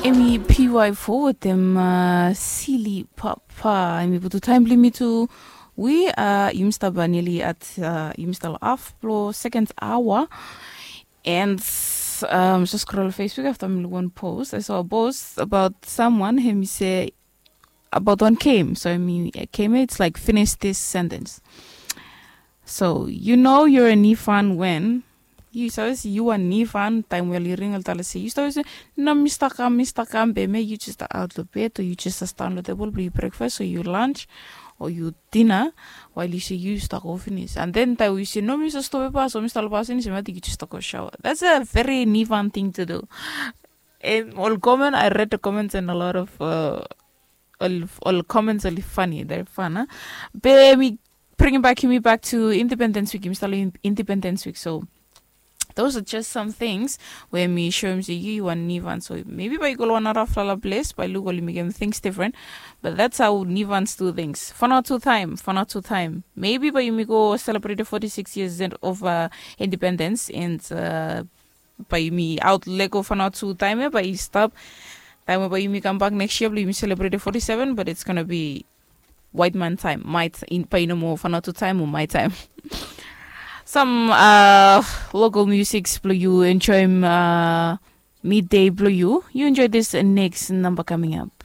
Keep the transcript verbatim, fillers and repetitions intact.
Emi py fo wetem sili papa emi putu taim blong mi tu. Wi yumi stap nili at yumi stap lo af blo sekens awa. And um, just scroll Facebook after mi look one post. I saw a post about someone him say about one came. So I mean came it's like finish this sentence. So you know you're a nifan when you sabi se yu wan nifan taim wel i ring ol tala se yu sabi se no mi stakam mi stakam be me yu just out lo bed o yu just stan lo tebol blo yu breakfast o yu lunch o yu dinner. While yu se yu stako finis and then taim yu se no mi sa stop e pas o mi stalo pas finis mati yu just stako shower. That's a very nifan thing to do. And all comment I read the comments and a lot of uh, all, all comments oli funny, they're fun, huh? Be mi bring back me back to Independence Week. Mi start Independence Week. So those are just some things where mi show him say you want nivan. So maybe by go one other flower place by look only make him things different. But that's how nivans do things. Fun out two time, fun out two time. Maybe by you go celebrate the forty-six years of uh, independence and uh, by me out lego fun out two time by stop. Time by you come back next year, you celebrate the forty-seven, but it's gonna be white man time. My t- in by no more fun out two time or my time. Some uh local musics blow you enjoy uh, midday blow you. You enjoy this next number coming up.